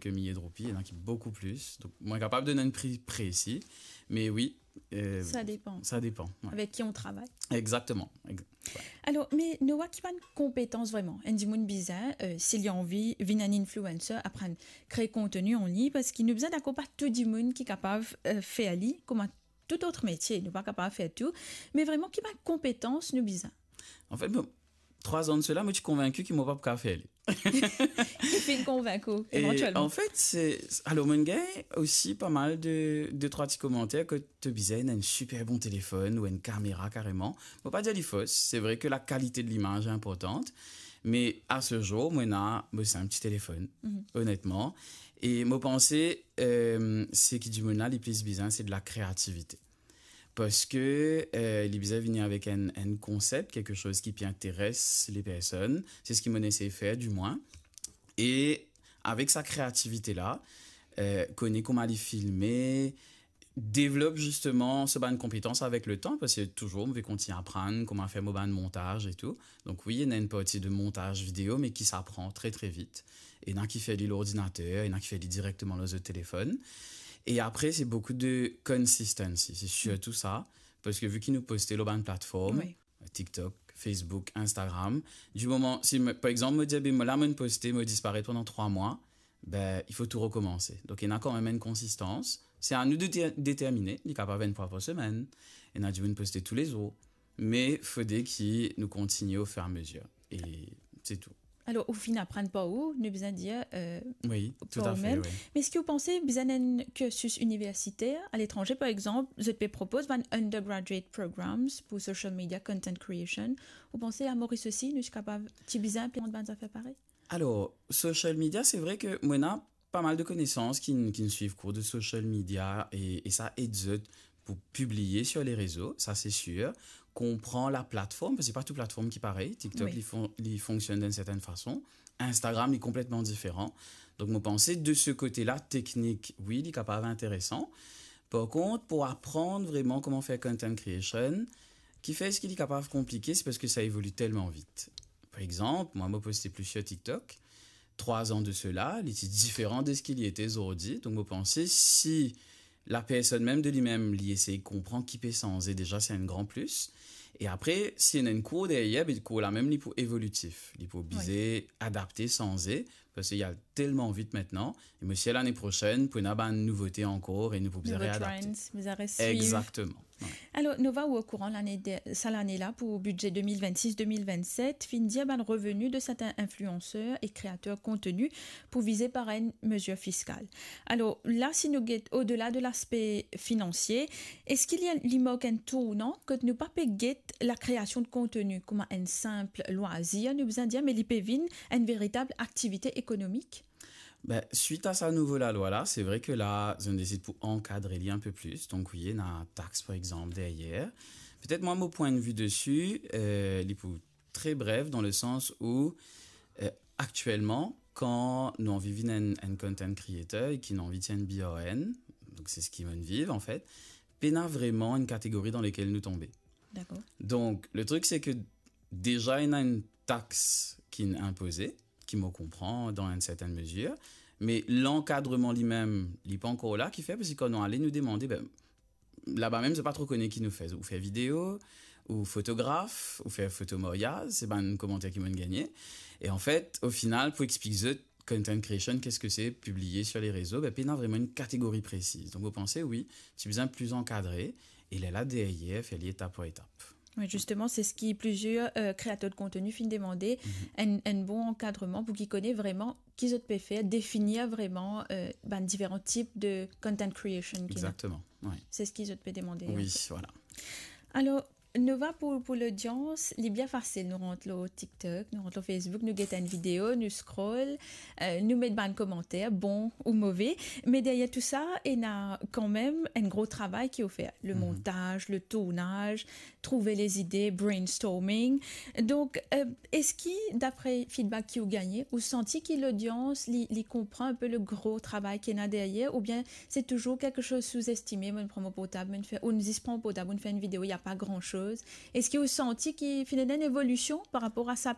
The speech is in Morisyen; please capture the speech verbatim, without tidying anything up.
Ke milie de roupi, ena ki boukou plis. Donk, mo pa kapav donn enn pri presi, me wi, eh, sa depan. Sa depan, wi. Avek ki ou travay. Egzakteman. Ex-, wi. Alor, me Noah, ki bann konpetans vreman enn dimoun bizin, eh, si li anvi vinn enn influencer, aprann kree konteni an ligne, parski nou bizin dakor pa tou dimoun ki kapav, eh, fer li, kouma tou lot metie, nou pa kapav fer tou, me vreman ki bann konpetans nou bizin? Anfet, mo, trwa zan de sela, mo ti konvinki ki mo pa pou kapav fer li. Ki finn konvink ou, e, evantielman? Anfet, se, alor, mo'nn gagn osi pa mal de, de trwa ti komanter ki to bizin enn siper bon telefonn ou enn kamera kareman. Mo pa dir li fos, se vre ki lakalite de limaz li inportan, me a se zour, mo ena, mo, se enn ti telefonn, mhm, onetman. E mo panse, eh, seki dimoun la li plis bizin, se de lakreativite. Parski, eh, li bizin vini avek enn, enn konsep, kiksoz ki pe interes lepersonn. Se seki mo'nn esey fer, dimwin. E avek sa kreativite la, eh, kone kouma li filme, devlop zisteman so bann konpetans avek letan, parski touzour mo pe kontign aprann kouma fer mo bann montaz e tou. Donk wi, ena enn parti de montaz video, me ki sa aprann tre, tre vit. Ena ki fer li lor lordinater, ena ki fer li direkteman lor zot telefonn. E apre, se boukou de consistency, se sirtou sa, parski vi ki nou poste lor bann platform, wi, TikTok, Facebook, Instagram, di moman, si mo, par exanp, mo dir, be, mo la, mo'nn poste, mo disparet pandan trwa mwa, be, il fo tou rekomanse. Donk, ena kanmem enn konsistans. Se a nou de dete-, determine, li kapav enn fwa par semenn, ena dimoun poste toulezour. Me fode ki nou kontigne ofiramizie. E se tou. Alor, ou finn aprann par ou, nou bizin dir, eh, wi, par toutafet, oumem. Wi. Me eski ou panse bizin enn kirsis iniversiter aletranze, par exanp, zot pe propoz bann undergraduate programs pou social media content creation? Ou panse a Moris osi, nou ti kapav, ti bizin inplimant bann zafer parey? Alor, social media, se vre ki mo ena pa mal de konesans ki, ki swiv kour de social media e, e sa ed zot pou pibliye sur les réseaux, sa se sir. Konpran laplatform, parski pa tou platform ki parey. TikTok, wi, li fon-, li fonksionn dan enn sertenn fason. Instagram, li konpletman diferan. Donk, mo panse, de se kote la, teknik, wi, li kapav interesan. Par kont, pou aprann vreman kouma fer content creation, kifer eski li kapav konplike, se parski sa evolue telman vit. Par exanp, mwa, mo poste plis sur TikTok. Trwa zan de sela, li ti diferan de seki li ete zordi. Donk, mo panse, si lapersonn mem de limem, li esey konpran ki pe sanze, deza, se enn gran plis. E apre, si ena enn kour deryer, be, kour la mem, li pou evolitif. Li pou oblize, wi, adapte, sanze, parski li al telman vit aster. E mo sir lane prosenn, pou ena bann nouvote ankor e nou pou bizin readapte. Nouvo trends, bizin res swiv. Egzakteman. Wi. Alor, Noah, ou okouran lane de, sa lane la pou bidze de mil vennsis de mil vennset, finn dir bann reveni de serten influenser e kreater konteni pou vize par enn mezir fiskal. Alor, la, si nou get odela de laspe finansie, eski li, li mark enn tournan kot nou pa pe get lakreasion de konteni kouma enn sinp lwazir, nou bizin dir, me li pe vinn enn veritab aktivite ekonomik? Be, swit a sa nouvo lalwa la, se vre ki la, zot inn desid pou ankadre li enn pe plis. Donk, wi, ena tax, par exanp, deryer. Petet mwa, mo pwin de vi desi, eh, li pou tre brev, dan le sans ou, eh, aktielman, kan nou anvi vinn enn, enn content creator e ki nou anvi tir enn B R N, donk se seki mo'nn viv, anfet, pena vreman enn kategori dan lekel nou tonbe. Dakor. Donk, le trik, se ki deza ena enn tax ki inpoze, ki mo konpran dan enn sertenn mezir, me lankadreman limem, li pa ankor la, kifer, parski kan nou ale, nou demande, be, laba mem, zot pa tro kone ki nou fer. Ou fer video, ou fotograf, ou fer foto maryaz, se bann komanter ki mo'nn gagne. E anfet, o final, pou explik zot, content creation, kifer se pibliye sur les réseaux, be, pena vreman enn kategori presiz. Donk, mo panse, wi, ti bizin pli ankadre, e lerla deryer, fer li etap par etap. Wi, zisteman, se seki plizier, eh, kreater de konteni finn demande, mhm, enn, enn bon ankadreman pou ki kone vreman ki zot pe fer, definir vreman, eh, bann diferan tip de content creation ki ena. Egzakteman, wi. Se seki zot pe demande, anfet. Wi, vwala. Alor, Noah, pou, pou lodians, li bien fasil, nou rant lor TikTok, nou rant lor Facebook, nou get enn video, nou scroll, eh, nou met bann komanter, bon ou move, me deryer tou sa, ena kanmem enn gro travay ki ou fer. Le, mhm, montaz, le tournaz, trouve lezide, brainstorming. Donk, eh, eski, dapre feedback ki ou gagne, ou santi ki lodians, li, li konpran enn pe le gro travay ki ena deryer, oubien se touzour kiksoz souzestime, mo'nn pran mo portab, mo'nn fer, ounn zis pran portab, ounn fer enn video, napa gran soz? Eski ou santi ki finn ena enn evolision par rapor a sa